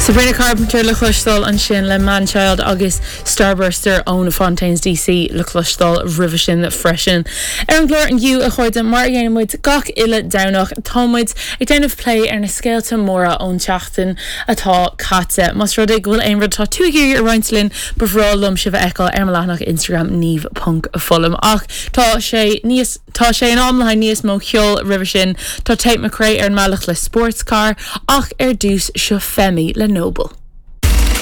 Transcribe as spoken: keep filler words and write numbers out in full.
Sabrina Carpenter le cloisteáil ansin le Manchild agus Starburster ón Fontaines DC le cloisteáil roimhe sin freisin. Ar an gclár inniu a chairde mar a dhéanann muid gach uile Domhnach táimid ag déanamh plé ar na scéalta móra ón tseachtain atá caite. Más rud é go bhfuil aon rud tá tú ag iarraidh a roinnt linn ba bhreá liom sibh a fheiceáil ar mo leathanach Instagram Niamh ponc Fullam ach tá sé níos Tá sé in am le níos mó ceoil roimhe sin tá Tate McRae ar an mbealach le sports car ach ar dtús seo Femi le Noble.